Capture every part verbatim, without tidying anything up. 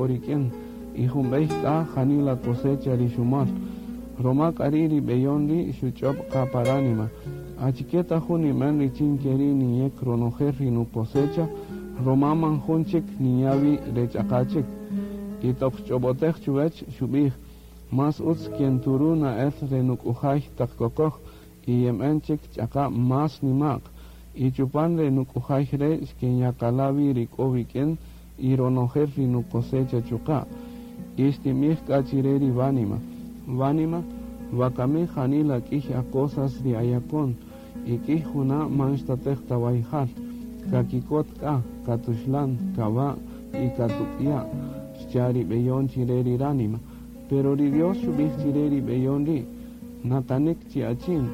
k'o rik'in y jun b'ey k'a janila cosecha ri xumol. Roma k'a ri' ri b'eyon ri' xuch'ob' qa pa ránima: Achike ta jun niben richin keri' niyek ronojel ri nucosecha, roma man jun chik niya' wi re ch'aqa chik. Y toq xch'ob'otej chuwech xub'ij: Más utz kenturu na'el re nuk'ujay taq kokoj y yenb'en chik ch'aqa más nima'q. Y chupan re nuk'ujay re' xkenyakala' wi ri k'o wik'in y ronojel ri nucosecha chuqa'. Y xtinb'ij k'a chire ri wánima: Wánima, wakami janila k'iy acosas ri ayakon y k'iy juna' man xtatej ta wayjal. Kakikot k'a, katuxlan, kawa' y katuk'ya', xcha' ri b'eyon chire ri ránima. Pero ri Dios xub'ij chire ri b'eyon ri': Nakanik chi achin,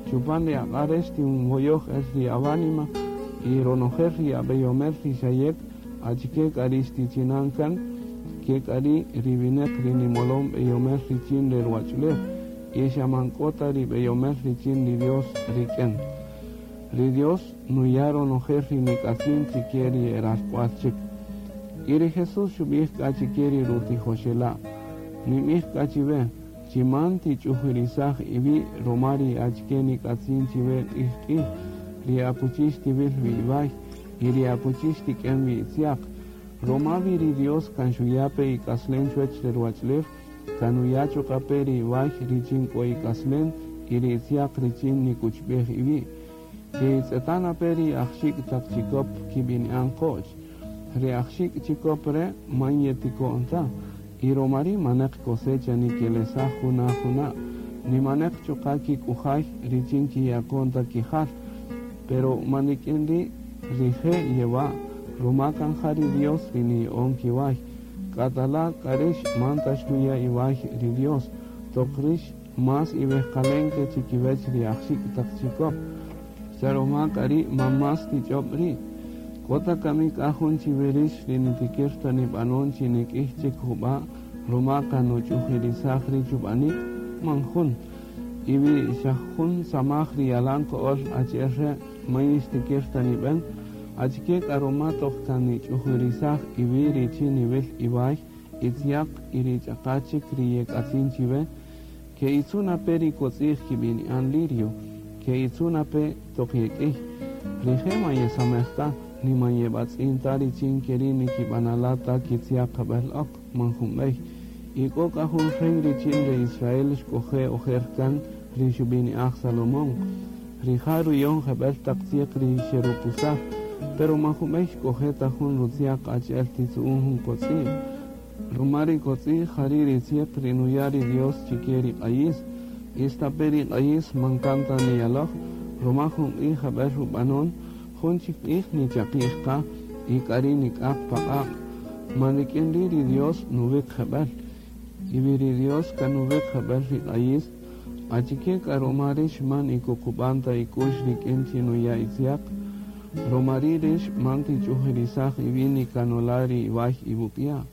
chupan ri aq'a' re' xtinwoyoj el ri awánima y ronojel ri ab'eyomel ri xayek, achike k'a ri xtichinan kan, ke k'a ri' ri wineq ri nimolon b'eyomel richin re ruwach'ulew y xa man k'o ta ri b'eyomel richin ri Dios rik'in. Ri Dios nuya' ronojel ri nik'atzin chike ri e ralk'wal chik. Y ri Jesús xub'ij k'a chike ri rutijoxela': Ninb'ij k'a chiwe, chi man tich'ujirisaj iwi' roma ri achike nik'atzin chiwe q'ij q'ij, ri akuchi xtiwil wi iway y ri akuchi xtik'en wi itziaq. Roma wi ri Dios kan xuya' pe ik'aslen chuwech re ruwach'ulew, kan nuya' chuqa' pe ri iway richin k'o ik'aslen y ri itziaq richin nikuchb'ej iwi'. Ke'itz'eta' na pe ri ajxik' taq chikop kib'ini'an qo'ch. Ri ajxik' chikop re' man yetiko'n ta, y roma ri' maneq cosecha nikelesaj juna juna', nimaneq chuqa' kik'ujay richin kiyakon ta kijal. Pero man rik'in ri' rije' yewa', roma kan ja ri Dios ri niya'on kiway. K'atala' k'a rix man ta xtuya' iway ri Dios, toq rix más iwejqalen ke chikiwech ri ajxik' taq chikop. Xa roma k'a ri' man más tich'ob' ri'. K'o ta kami k'a jun chiwe rix ri nitikir ta nib'anon chi nik'ij chik jub'a' roma kan nuch'ujirisaj ri' chub'anik, man jun. Y wi xa jun samaj ri yalan ko'ol achi'el re' man yixtikir ta nib'en, achike k'a roma toq kan nich'ujirisaj iwi' richin niwil iway, itziaq y ri ch'aqa chik ri yek'atzin chiwe, ke'itzu' na pe ri kotz'i'j kib'ini'an lirio, ke'itzu' na pe toq yek'iy. Rije' man yesamej ta, ni man yeb'atz'in ta richin keri' nikib'anala' ta kitziaq jab'el ok, man jun b'ey. Y k'o k'a jun rey richin re Israel xk'oje' ojer kan ri xub'ini'aj Salomón. Rija' ruyon jeb'el taq tzieq ri xerukusaj, pero man jun b'ey xk'oje' ta jun rutziaq achi'el titzu'un jun kotz'i'j. Roma ri kotz'i'j jari' ri tzieq ri nuya' ri Dios chike ri q'ayis. Istape' ri q'ayis man kan ta niyaloj, roma jun q'ij jeb'el rub'anon, jun chik q'ij nichaqi'j qa y k'a ri' nik'aq pa q'aq'. Man rik'in ri' ri Dios nuwiq jeb'el. Y wi ri Dios kan nuwiq jeb'el ri q'ayis, achike k'a roma rix man ikuqub'an ta ik'u'x rik'in chi nuya' itziaq. Roma ri' rix man tich'ujirisaj iwi' nikanola' ri iway iwuk'ya'.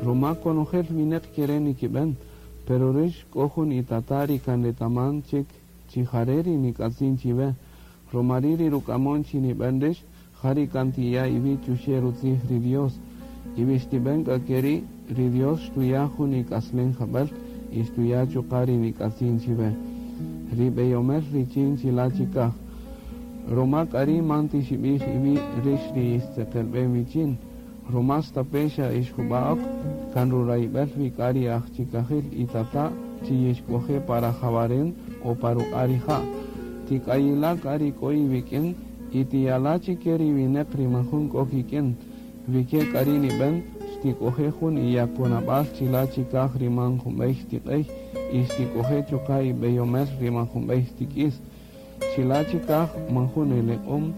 Roma konojel wineq kere' nikib'en, pero rix k'o jun itata' ri kan retaman chik chi jare' ri nik'atzin chiwe. Roma ri' ri ruk'amon chi nib'en rix, ja ri kan tiya' iwi' chuxe' rutzij ri Dios. Y wi xtib'en k'a keri', ri Dios xtuya' jun ik'aslen jab'el y xtuya' chuqa' ri nik'atzin chiwe. Ri b'eyomel richin chila' chikaj. Roma k'a ri' man tixib'ij iwi' rix ri ixtzeqelb'en wichin. Roma stape' xa ix jub'a' ok, kan rurayb'el wi k'a ri ajchikajil itata' chi yixk'oje' pa rajawaren o pa ruq'a' rija'. Tik'ayila' k'a ri k'o iwik'in y tiyala' chike ri wineq ri man jun k'o kik'in. Wi ke k'a ri' nib'en, xtik'oje' jun iyakonab'al chila' chikaj ri man jun b'ey xtiq'ey y xtik'oje' chuqa' ib'eyomel ri man jun b'ey xtik'is. Chila' chikaj man jun eleq'om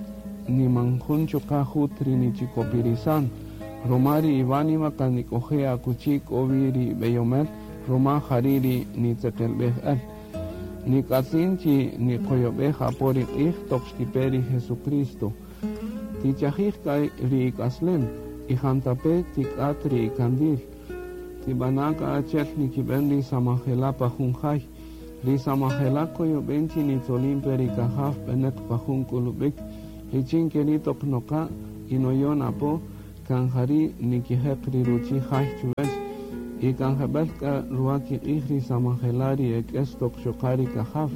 ni man jun chuqa' jut ri nichikopirisan. Roma ri iwánima kan nik'oje' akuchi k'o wi ri b'eyomel, roma jari' ri nitzeqelb'ej el. Nik'atzin chi niqoyob'ej apo ri q'ij toq xtipe ri Jesucristo. Tichajij k'a ri ik'aslen y jantape' tik'at ri ikandil. Tib'ana' k'a achi'el nikib'en ri samajela' pa jun jay. Ri samajela' koyob'en chi nitzolin pe ri kajaw b'eneq pa jun k'ulub'ik, richin keri' toq noqa' y noyon apo, kan jari' nikijeq ri ruchi' jay chuwech y kan jeb'ël k'a ruwa kiq'ij ri samajela' ri ek'es toq xoqa ri kajaw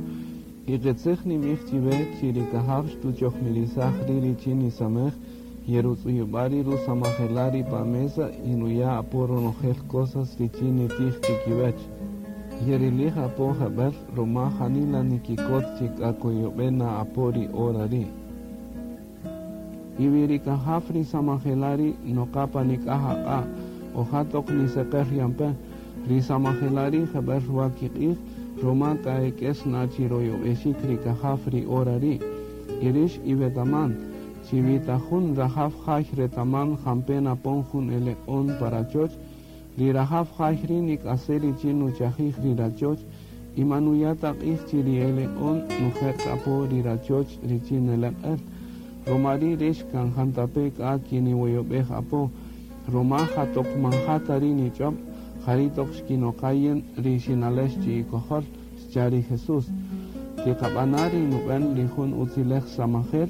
y qitzij nimij chiwe chi ri kajaw xtuchojmirisaj ri' richin nisamej yerutz'uyub'a' ri rusamajela' ri pa mesa y nuya' apo ronojel cosas richin nitij chikiwech. Yerilij apo jeb'ël ruma janila nikikot chi k'a koyob'en na apo ri hora ri'. Y wi ri kajaw ri samajela' ri' noqa pa nik'aj aq'a' o ja toq niseqer yan pe, ri samajela' ri' jeb'ël ruwa kiq'ij ruma k'a ek'es na chi royob'exik ri kajaw ri hora ri'. Y rix iwetaman, chi wi ta jun rajaw jay retaman jampe' napon jun eleq'on pa rachoch, ri rajaw jay ri' nik'ase' richin nuchajij ri rachoch y man nuya' ta q'ij chi ri eleq'on nujeq apo ri rachoch richin neleq'el. Ruma ri' rix kan jantape' k'a kiniwoyob'ej apo, ruma ja toq man ja ta ri' nich'ob', jari' toq xkinoqa yin ri xinalex chi ikojol, xcha' ri Jesús. Tiqab'ana' ri nub'en ri jun utzilej samajel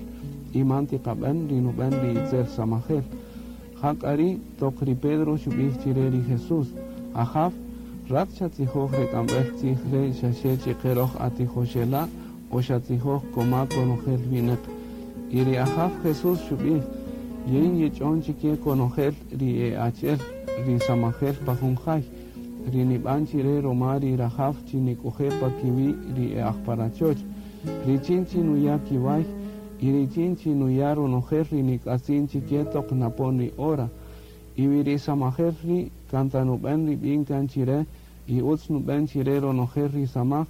y man tiqab'en ri nub'en ri itzel samajel. Ja k'a ri' toq ri Pedro xub'ij chire ri Jesús, Ajaw, rat xatzijoj re k'amb'ej tzij re' xaxe chiqe roj atijoxela' o xatzijoj koma konojel winäq. Y ri Ajaw Jesús xub'ij, yin yich'on chike konojel ri e achi'el ri samajel pa jun jay, ri nib'an chire ruma ri rajaw chi nik'uje' pa kiwi' ri e aj pa rachoch, richin chi nuya' kiway y richin chi nuya' ronojel ri nik'atzin chike toq napon ri hora. Y wi ri samajel ri' kan ta nub'en ri b'in kan chire y utz nub'en chire ronojel ri samaj,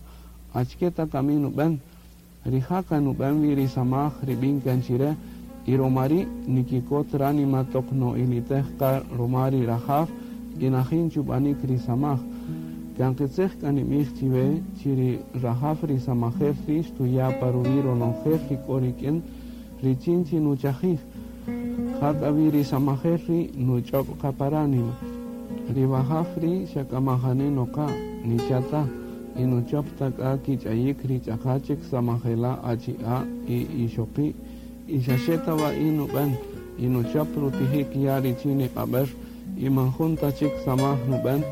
achike ta kami nub'en. Rija' kan nub'en wi ri samaj ri b'in kan chire y ruma ri' nikikot ránima toq no'ilitej qa ruma ri rajaw y najin chub'anik ri samaj. Kan qitzij k'a nimij chiwe chi ri rajaw ri samajel ri' xtuya' pa ruwi' ronojel ri k'o rik'in richin chi nuchajij. Ja k'a wi ri samajel ri' nuch'ob' qa pa ránima. Ri wajaw ri' xa k'a majani noqa, nicha' ta, y nuchop ta k'a kich'ayik ri ch'aqa chik samajela' achi'a' y ixoqi' y xaxe ta wa'i nub'en y nuchop rutijik ya' richin niq'ab'er y man jun ta chik samaj nub'en.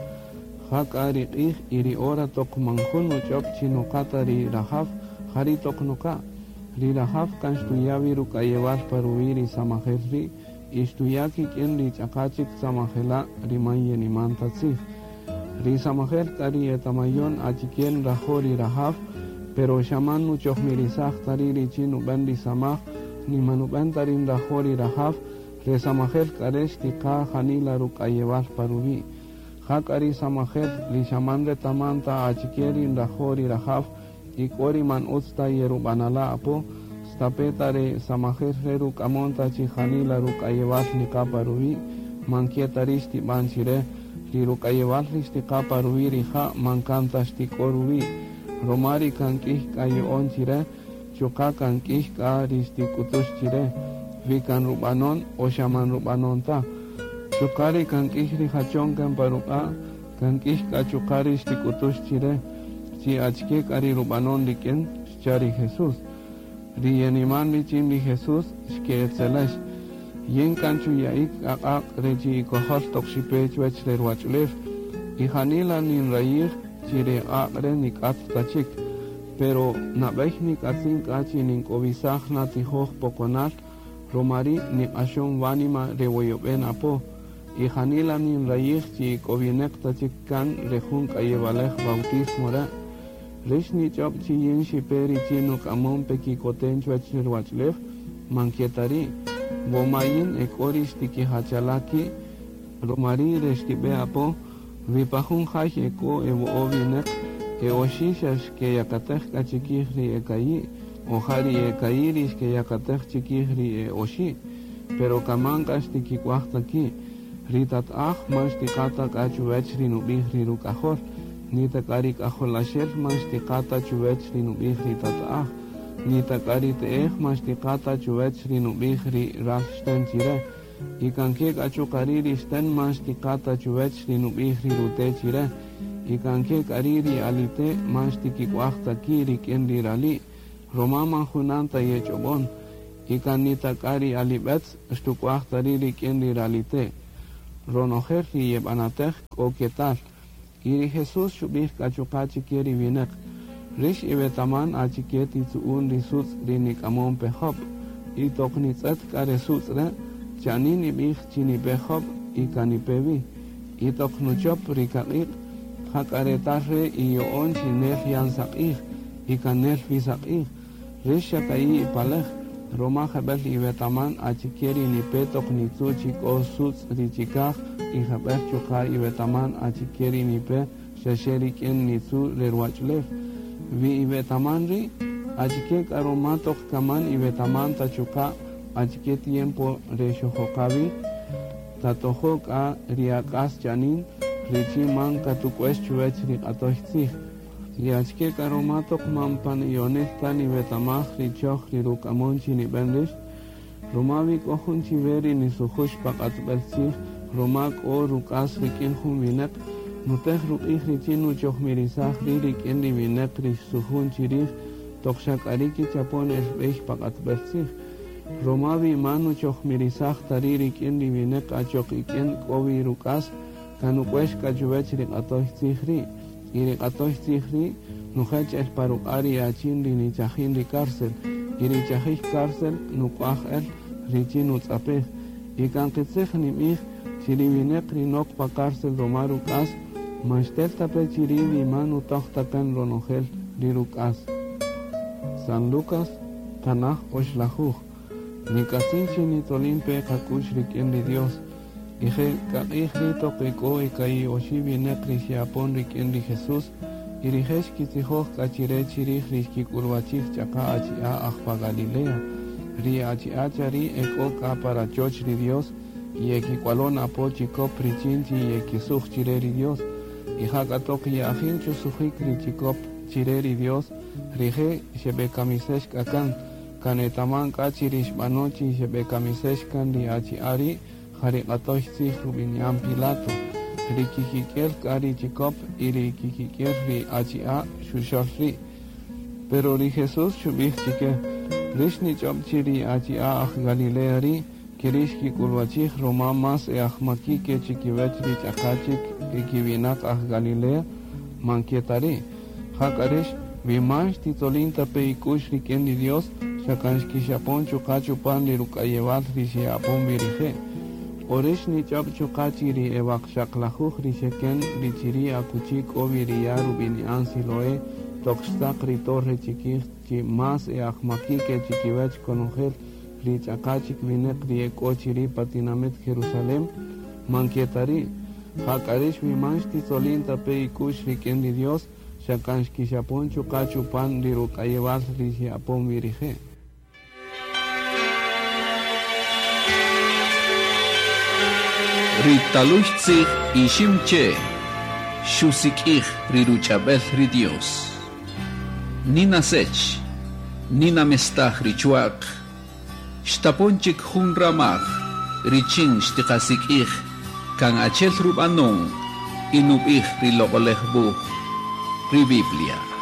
Ja k'a ri q'ij y ri hora toq man jun nuch'ob' chi noqa ta ri rajaw, jari' toq noqa. Ri rajaw kan xtuya' wi ruk'ayewal pa ruwi' ri samajel ri' y xtuya' kik'in ri ch'aqa chik samajela' ri man yeniman ta tzij. Ri samajel k'a ri etamayon achike nrajo' ri rajaw, pero xa man nuchojmirisaj ta ri' richin nub'en ri samaj, ni man nub'en ta ri nrajo' ri rajaw, re samajel k'a re' xtiqa janila ruk'ayewal pa ruwi'. Ja k'a ri samajel ri xa man retaman ta achike ri nrajo' ri rajaw y k'o ri man utz ta yerub'anala' apo, stape' ta re samajel re ruk'amon ta chi janila ruk'ayewal niqa pa ruwi', man ke ta ri' xtib'an chire, ri ruk'ayewal ri xtiqa pa ruwi' rija' man kan ta xtik'o ruwi', ruma ri kan k'ij k'a yo'on chire, chuqa' kan k'ij k'a ri xtik'utux chire, wi kan rub'anon o xa man rub'anon ta. Chuqa' ri kan k'ij ri jachon kan pa ruq'a', kan k'ij k'a chuqa' ri xtik'utux chire, chi achike k'a ri rub'anon rik'in, xcha' ri Jesús. Ri yeniman richin ri Jesús xke'etzelex. Yin kan chuya'ik aq'aq' re chi ikojol toq xipe chuwech re ruwach'ulew, y janila ninrayij chi re q'aq' re nik'at ta chik. Pero nab'ey nik'atzin k'a chi nink'owisaj na tijoj poqonal, ruma ri' niq'axon wánima re woyob'en apo. Y janila ninrayij chi k'owineq ta chik kan re jun k'ayewalej bautismo re'. Rix nich'ob' chi yin xipe richin nuk'amon pe kikoten chuwech re ruwach'ulew, man ke ta ri'. Woma yin ek'o ri xtikijachala' ki', ruma ri' re xtib'e apo, wi pa jun jay ek'o ewo'o winäq, e oxi' xa xkeyakatej k'a chikij ri ekayi', o ja ri ekayi' ri xkeyakatej chikij ri e oxi', pero kaman k'a xtikik'uaj ta ki'. Ri tat'aj man xtiqa ta k'a chuwech ri nub'ij ri ruk'ajol, ni ta k'a ri k'ajolaxel man xtiqa ta chuwech ri nub'ij ri tat'aj, ni ta k'a ri te'ej man xtiqa ta chuwech ri nub'ij ri ral xten chire, y kan ke k'a chuqa' ri' ri xten man xtiqa ta chuwech ri nub'ij ri rute' chire, y kan ke k'a ri' ri alite' man xtikik'uaj ta ki' rik'in ri rali', ruma man junan ta yech'ob'on. Y kan ni ta k'a ri alib'etz xtuk'waj ta ri' rik'in ri ralite'. Ronojel ri yeb'anatej k'o ketal. Y ri Jesús xub'ij k'a chuqa' chi ke ri winäq: Rïx iwetaman achike titzu'un ri sutz' ri nik'amon pe jöb'. Y toq nitz'ët k'a re sutz' re', chanin nib'ij chi nipe jöb' y kan nipe wi. Y toq nuchöp ri kaq'iq', ja k'a retal re' iya'on chi nel yan saq'ij, y kan nel wi saq'ij. Rïx xa ka'i' ipaläj, ruma jeb'ël iwetaman achike ri nipe toq nitzu' chi k'o sutz' ri chi kaj y jeb'ël chuqa' iwetaman achike ri nipe xa xe rik'in nitzu' re ruwach'ulew. Wi iwetaman ri', achike k'a ruma toq kaman iwetaman ta chuqa' achike tiempo re xojoqa wi, tatojo' k'a ri ak'as chanin richin man katuk'wex chuwäch ri q'atöy tzij. Y achike k'a ruma toq man pan iyonil ta niwetamaj ri choj ri ruk'amon chi nib'en rïx, ruma wi k'o jun chiwe ri nisujüx pa q'atb'äl tzij, ruma k'o ruk'as rik'in jun winäq, nutej ruq'ij richin nuchojmirisaj ri' rik'in ri winäq ri xsujun chi rij toq xa k'a ri' kichapon el b'ey pa q'atb'äl tzij. Ruma wi man nuchojmirisaj ta ri' rik'in ri winäq achoq ik'in k'o wi ruk'as, kan nuk'wex k'a chuwäch ri q'atöy tzij ri'. Y ri q'atöy tzij ri' nujech el pa ruq'a' ri achin ri nichajin ri cárcel, y ri chajij cárcel nuk'waj el richin nutz'apej. Y kan qitzij nib'ij chi ri winäq ri nok pa cárcel ruma ruk'as, man xtel ta pe chi ri' wi man nutöj ta kan ronojel ri ruk'as. San Lucas, tanaj oxlajuj. Nik'atzin chi nitzolin pe qak'u'x rik'in ri Dios. Y je' k'aq'ij ri' toq ek'o eka'i' oxi' winäq ri xe'apon rik'in ri Jesús, y rije' xkitzijoj k'a chi re chi rij ri xkik'ulwachij ch'aqa' achi'a' aj pa Galilea. Ri achi'a' chari' ek'o k'a pa rachoch ri Dios y ekik'walon apo chikop richin chi yekisuj chi re ri Dios. Y ja k'a toq ye'ajin chusujik ri chikop chi re ri Dios, rije' xeb'ekamisex k'a kan. Kan etaman k'a chi ri xb'ano chi xeb'ekamisex kan ri achi'a' ri' ja ri q'atöy tzij rub'ini'an Pilato. Ri kikik'el k'a ri chikop y ri kikik'el ri achi'a' xuxöl ri'. Pero ri Jesús xub'ij chike: Rïx nich'ob' chi ri achi'a' aj Galilea ri' ke ri' xkik'ulwachij ruma más e ajmaki' ke chikiwäch ri ch'aqa' chik ekiwinaq aj Galilea, man ke ta ri'. Ja k'a rïx wi man xtitzolin ta pe ik'u'x rik'in ri Dios, xa kan xkixapon chuqa' chupan ri ruk'ayewal ri xe'apon wi rije'. O rïx nich'ob' chuqa' chi ri ewaqxaqlajuj ri xeken ri chiri' akuchi k'o wi ri ya' rub'ini'an Siloé toq xtzaq ri torre chikij chi más e ajmaki' ke chikiwäch konojel ri ch'aqa' chik winäq ri ek'o chiri' pa tinamit Jerusalén, man ke ta ri'. Ja k'a rïx wi man xtitzolin ta pe ik'u'x rik'in ri Dios, xa kan xkixapon chuqa' chupan ri ruk'ayewal ri xe'apon wi rije'. Ri taluy tzij ixim che xusik'ij ri ruch'ab'el ri Dios. Nina sech, nina mestaj ri chuaq, xtapon chik jun ramaj, richin xtiqasik'ij kan achel rub'anon y nub'ij ri loq'olej wuj, ri Biblia.